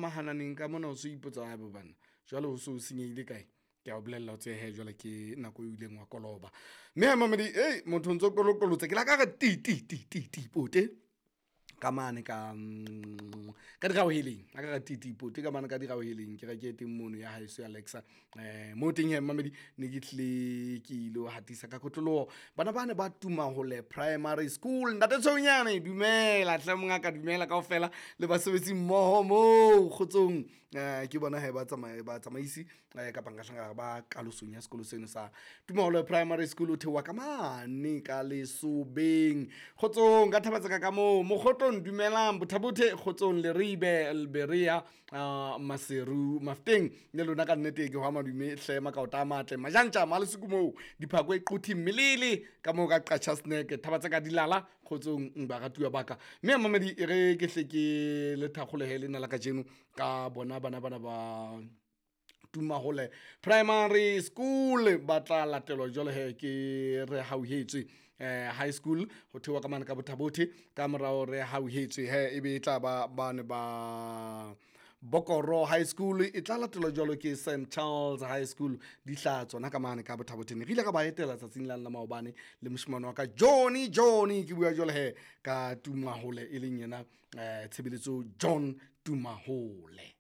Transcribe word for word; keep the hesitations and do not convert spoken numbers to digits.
mahananeng ka mona o so ipotsa ha bo bana jwale ho so senyehile kae. Ke a o bolella o tsebe he jwale ke nako e ileng wa koloba, mme ha mamedi ei motho o ntso kolokolotsa ke la ka re ti ti ti ti ti pote ka mane ka mm, ka diraoheleng a ka re ti ti pote ka mane ka diraoheleng ke reke teng mono ya haeso ya Alexa. um mo teng he mamedi ne ke tlile ke ilo hatisa ka kotloloho bana ba ne ba Tumahole Primary School. Ntate Tshonyane dumela hle mongaka, dumela kaofela le basebetsi mmoho moo kgotsong. um ke bona he ba tsamaya batsamaisi eh, kapa nka hlanga ba kalosong ya sekolo seno sa Tumahole Primary School o theoha ka mane ka lesobeng kgotsong ka thabatseka ka moo mokgotlong. Dumelang Bothabothe kgotsong Leribe Lberea uh, Maseru Mafteng le lona ka nnete ke hwa madume hle makaota a matle majantja malesuku moo diphako e qothi mmelele ka moo ka qatjha snack thabatseka dilala kgotsong baratuwa ba ka. Mme mamedi e re ke hle ke le thakgolehe lena la kajeno ka bona bana bana ba Tumahole Primary School ba tla latelwa jwale he ke re hauhetswe eh high school ho theoha ka mane ka Bothabothe ka morao re hauhetswe he ebe e tla ba bane ba Bokoro High School e tla latelwa jwalo ke Saint Charles High School di hlaha tsona ka mane ka Bothabotheng. Re ile ka ba etela tsatsing la la maobane le moshemane wa ka Johnny Johnny ke bua jwale he ka Tumahole e leng yena eh tshebeletso John Tumahole.